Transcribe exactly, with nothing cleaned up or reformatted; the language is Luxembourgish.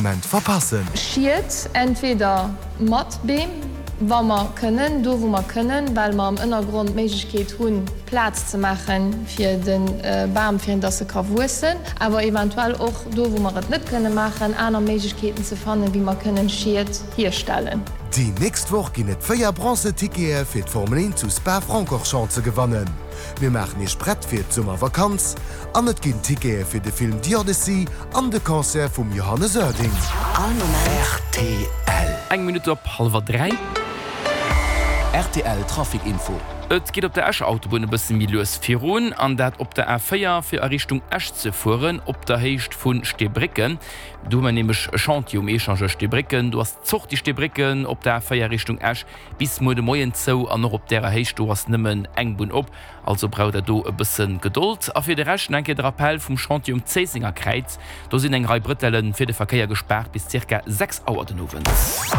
Moment verpassen. Schied, entweder mat Beem, wa mer kënnen, do wou mer kënnen, well mer am Ënnergrond d'Méiglechkeet hunn, Plaz ze maache fir de Bam, fir dass e ka wuessen, awer eventuell och do wou mer et net kënne maachen, aner Méiglechkeeten ze fannen, wéi mer kënnen Schied hierstellen. Déi nächst Woch ginn et véier Bronze-Tickete fir d'Formel eent zu Spa-Francorchamps ze gewannen. Mir maachen Iech prett fir d'Summervakanz an et ginn Tickete fir de Film The Odyssey an de Concert vum Johannes Oerding. All Moment. Rtl. Eng Minutt op hallwer dräi. Rtl Trafic Info. Et geet op der Escher Autobunn e bësse méi lues virun, an dat op der A véier fir a Richtung Esch ze fueren, op der Héicht vu Steebrécken. Do hu mer nämlech e Chantier um Echangeur Steebrécken. Do ass d'Sortie Steebrécken op der A véier Richtung Esch bis muer de Moien zou an och op därer Héicht do ass nëmmen eng Bunn op. Also braucht der do e bësse Gedold. A fir de Rescht nach eng Kéier de Rappel vum Chantier um Zéissenger Kräiz, Do sinn eng Rei Brëtelle fir de Verkéier gespaart bis zirka sechs Auer den Owend.